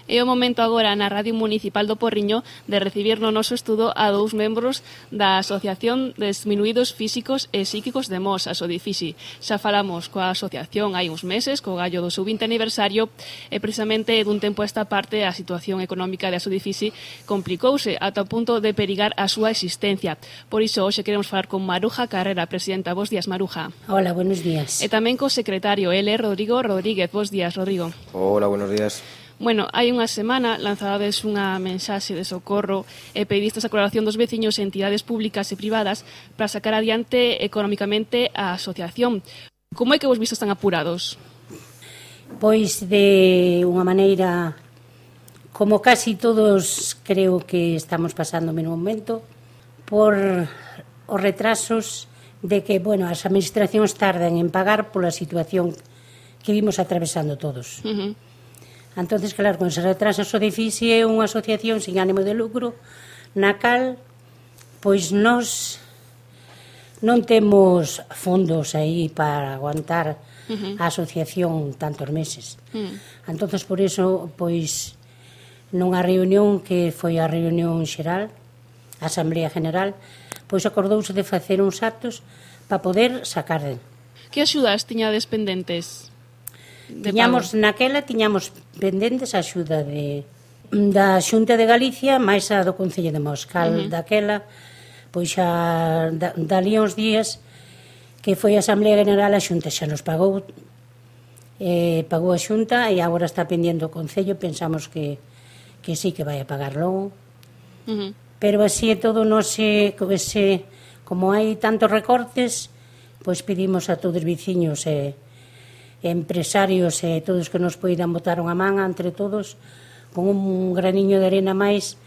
É o momento agora na Radio Municipal do Porriño de recibir no noso estudo a dous membros da Asociación de Diminuídos Físicos e Psíquicos de Mos, a Sodifisi. Xa falamos coa asociación hai uns meses, co gallo do seu 20 aniversario, e precisamente dun tempo a esta parte a situación económica da Sodifisi complicouse ata o punto de perigar a súa existencia. Por iso, hoxe queremos falar con Maruja Carrera, presidenta. Bos días, Maruja. Hola, buenos días. E tamén co secretario, Rodrigo Rodríguez. Bos días, Rodrigo. Hola, buenos días. Bueno, hai unha semana lanzadades unha mensaxe de socorro e pedistes a colaboración dos veciños e entidades públicas e privadas para sacar adiante económicamente a asociación. Como é que vos vistes tan apurados? Pois de unha maneira, como casi todos creo que estamos pasando no momento, por os retrasos de que, bueno, as administracións tardan en pagar pola situación que vimos atravesando todos. Entonces, claro, con ese retraso o Sodifisi é unha asociación sin ánimo de lucro na cal, pois nós non temos fondos aí para aguantar a asociación tantos meses. Entonces, por iso, pois, nunha reunión que foi a reunión xeral, a Asamblea General, pois acordouse de facer uns actos para poder sacar. Que axudas tiñades pendentes? Tiñamos pendentes a axuda da Xunta de Galicia máis a do Concello de Mos, cal daquela, pois xa dali uns días que foi a Asamblea General, a Xunta xa nos pagou, pagou a Xunta e agora está pendiente o Concello, pensamos que sí que vai a pagar logo. Pero así é todo, non sei, como hai tantos recortes, pois pedimos a todos os veciños e empresarios e todos que nos poidan botar unha man entre todos, con un graniño de arena máis,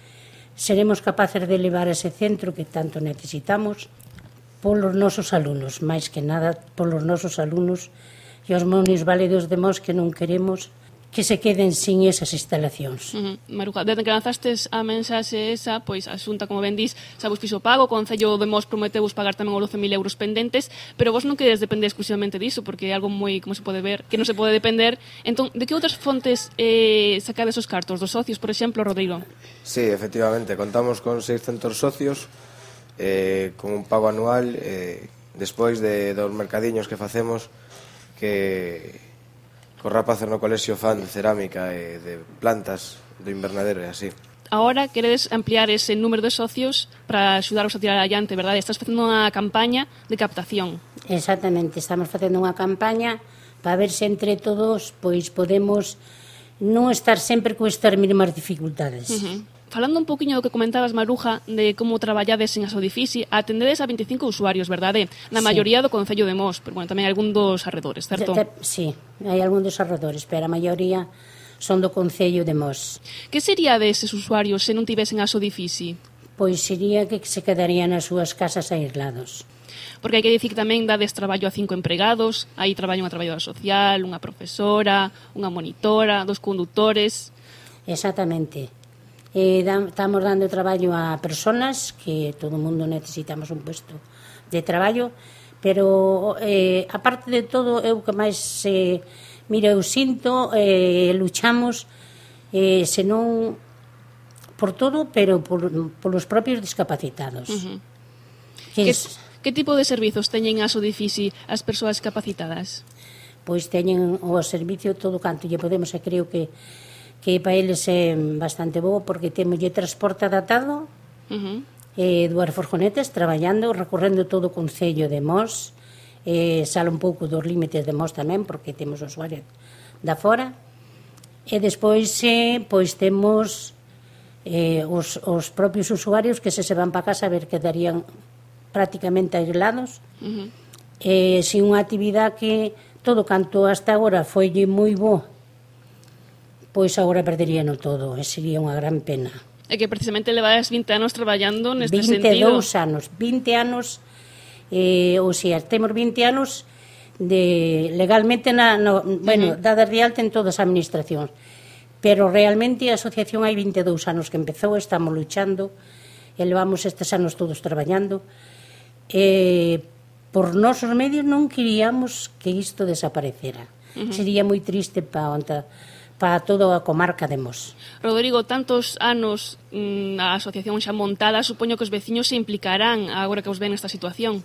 seremos capaces de levar ese centro que tanto necesitamos polos nosos alumnos, máis que nada polos nosos alumnos e os minusválidos de Mos que non queremos que se queden sin esas instalacións. Maruja, desde que lanzastes a mensaxe esa, pois a Xunta, como ben dís, xa vos fixo pago, o Concello de Mos prometeu vos pagar tamén os 12.000 euros pendentes, pero vos non queredes depender exclusivamente diso, porque é algo moi, como se pode ver, que non se pode depender. Entón, de que outras fontes sacades os cartos? Dos socios, por exemplo, Rodrigo? Sí, efectivamente, contamos con 600 socios, con un pago anual, despois dos mercadiños que facemos, que cos rapaces no colexio fan de cerámica e de plantas do invernadero e así. Ahora queredes ampliar ese número de socios para axudaros a tirar adiante, verdade? Estás facendo unha campaña de captación. Exactamente, estamos facendo unha campaña para ver se entre todos pois podemos non estar sempre con estas mínimas dificultades. Falando un poquinho do que comentabas, Maruja, de como traballades en a Sodifisi, atendedes a 25 usuarios, verdade? Na maioría do Concello de Mos, pero bueno, tamén algún dos arredores, certo? Sí, hai algún dos arredores, pero a maioría son do Concello de Mos. Que sería deses usuarios se non tivesen a Sodifisi? Pois sería que se quedarían nas súas casas aislados. Porque hai que dicir que tamén dades traballo a 5 empregados, aí traballo unha traballadora social, unha profesora, unha monitora, 2 condutores. Exactamente. Estamos dando traballo a personas que todo o mundo necesitamos un puesto de traballo, pero aparte de todo, eu que máis mira, eu sinto, luchamos senón por todo, pero polos propios discapacitados. Que tipo de servizos teñen a Sodifisi as persoas capacitadas? Pois teñen o servicio todo canto lle podemos, e creo que para eles é bastante bo, porque temos transporte adaptado, dúas furgonetas traballando, recorrendo todo o Concello de Mos, sale un pouco dos límites de Mos tamén, porque temos usuarios da fora, e despois pois temos os propios usuarios que se van para casa a ver que darían prácticamente aislados, sin unha actividade que todo canto hasta agora foi moi bo, pois agora perderíano todo, e sería unha gran pena. É que precisamente levades 20 anos traballando neste sentido. 20 anos, ou sea, temos 20 anos legalmente, dadas de alta en todas as administracións, pero realmente a asociación hai 22 anos que empezou, estamos luchando, e levamos estes anos todos traballando, por nosos medios non queríamos que isto desaparecera. Sería moi triste para para toda a comarca de Mos. Rodrigo, tantos anos a asociación xa montada, supoño que os veciños se implicarán agora que os ven nesta situación.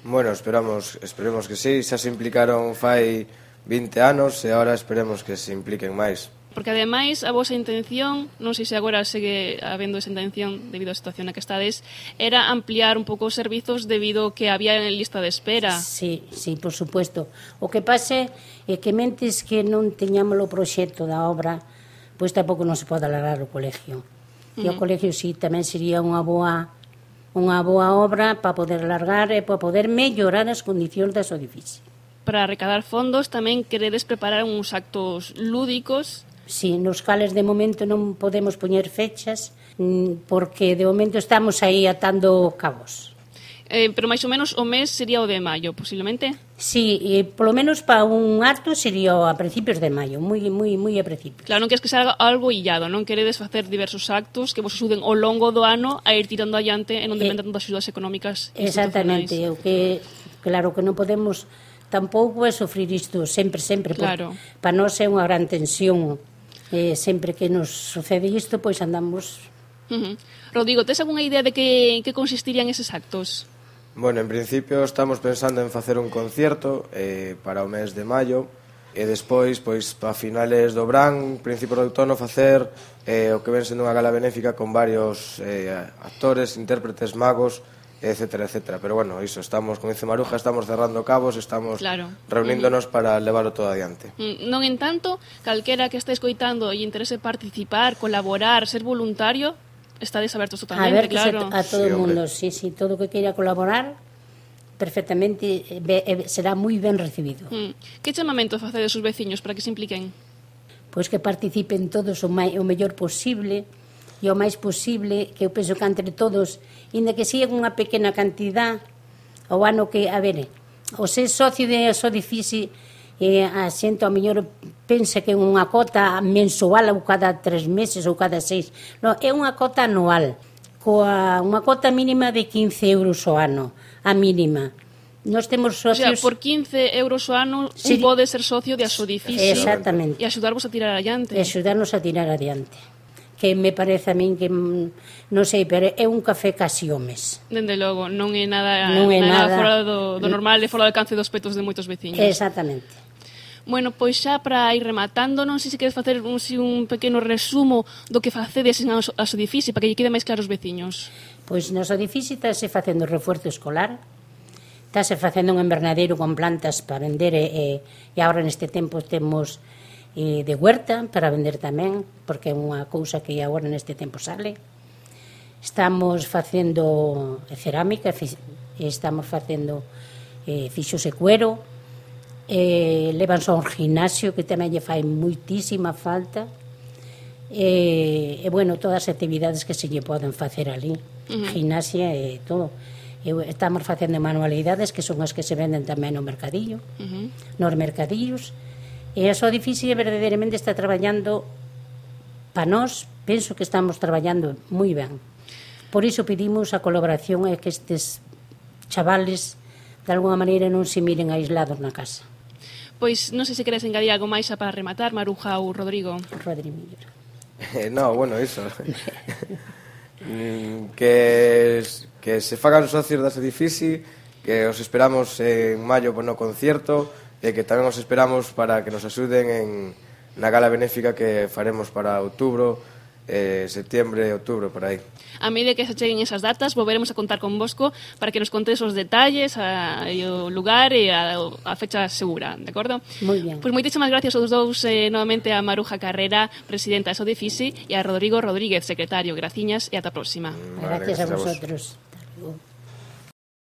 Bueno, esperemos que sí, xa se implicaron fai 20 anos e agora esperemos que se impliquen máis. Porque ademais a vosa intención, non sei se agora segue habendo esa intención debido á situación na que estades, era ampliar un pouco os servizos debido que había en lista de espera. Sí, por supuesto. O que pase é que mentes que non teñamos o proxecto da obra, pois tampouco non se pode alargar o colegio. E o colegio sí, tamén sería unha boa obra para poder alargar e para poder mellorar as condicións das edificios. Para recadar fondos tamén queredes preparar uns actos lúdicos. Sí, nos cales de momento non podemos poñer fechas porque de momento estamos aí atando cabos. Pero máis ou menos o mes sería o de maio, posiblemente? Sí, e polo menos para un acto sería a principios de maio, moi a principios. Claro, non queres que sea algo illado, non queredes facer diversos actos que vos axuden ao longo do ano a ir tirando adiante e non dependen tanto das axudas económicas institucionais. Exactamente, o que claro que non podemos tampouco é sofrir isto sempre, claro. Para nós é unha gran tensión. Sempre que nos sucede isto, pois andamos... Rodrigo, tes algunha idea de que consistirían eses actos? Bueno, en principio estamos pensando en facer un concierto para o mes de maio e despois, pois, para finales do verán, principio do outono, facer o que ven sendo unha gala benéfica con varios actores, intérpretes, magos, etcétera, etcétera. Pero bueno, iso, estamos, como dice Maruja, estamos cerrando cabos, estamos reuníndonos para levarlo todo adiante. Non en tanto, calquera que este escoitando e interese participar, colaborar, ser voluntario, estades abertos totalmente, claro. A todo o mundo, sí, todo que queira colaborar, perfectamente será moi ben recibido. Que chamamento facedes os veciños para que se impliquen? Pois que participen todos o mellor posible, e o máis posible, que eu penso que entre todos, inda que siga unha pequena cantidad, o ano que, a ver, o ser socio de Sodifici, a xente ao mellor pensa que é unha cota mensual ou cada 3 meses ou cada 6. Non, é unha cota anual, coa unha cota mínima de 15 euros ao ano, a mínima. Nós temos socios... O sea, por 15 euros ao ano un pode ser socio de Sodifici. Exactamente. E axudarvos a tirar adiante. E axudarnos a tirar adiante. Que me parece a min que, non sei, pero é un café casi o mes. Dende logo, non é nada fora do normal e fora do alcance dos petos de moitos veciños. Exactamente. Bueno, pois xa para ir rematando, non sei se queres facer un pequeno resumo do que facedes en a Sodifici para que lle quede máis claro os veciños. Pois no Sodifici estáse facendo refuerzo escolar, estáse facendo un invernadeiro con plantas para vender e agora neste tempo temos de huerta para vender tamén, porque é unha cousa que agora neste tempo sale. Estamos facendo cerámica, estamos facendo fixos e cuero, levanse ao gimnasio que tamén lle fai moitísima falta, e bueno, todas as actividades que se lle poden facer ali, gimnasia e todo. Estamos facendo manualidades que son as que se venden tamén no mercadillo, nos mercadillos. E a Sodifici verdadeiramente está traballando para nós, penso que estamos traballando moi ben. Por iso pedimos a colaboración e que estes chavales de alguna maneira non se miren aislados na casa. Pois non sei se queres engadir algo máis para rematar, Maruja ou Rodrigo. Rodrigo. No, bueno, iso. que se fagan socios das Sodifici, que os esperamos en maio no concierto, e que tamén os esperamos para que nos axuden na gala benéfica que faremos para outubro, setiembre, outubro, por aí. A medida que se cheguen esas datas, volveremos a contar con Bosco para que nos contes os detalles, o lugar e a fecha segura, de acordo? Moi ben. Pois moitísimas gracias aos dous, novamente a Maruja Carrera, presidenta de Sodifici, e a Rodrigo Rodríguez, secretario. Graciñas e ata a próxima. Gracias a vosotros. Hasta luego.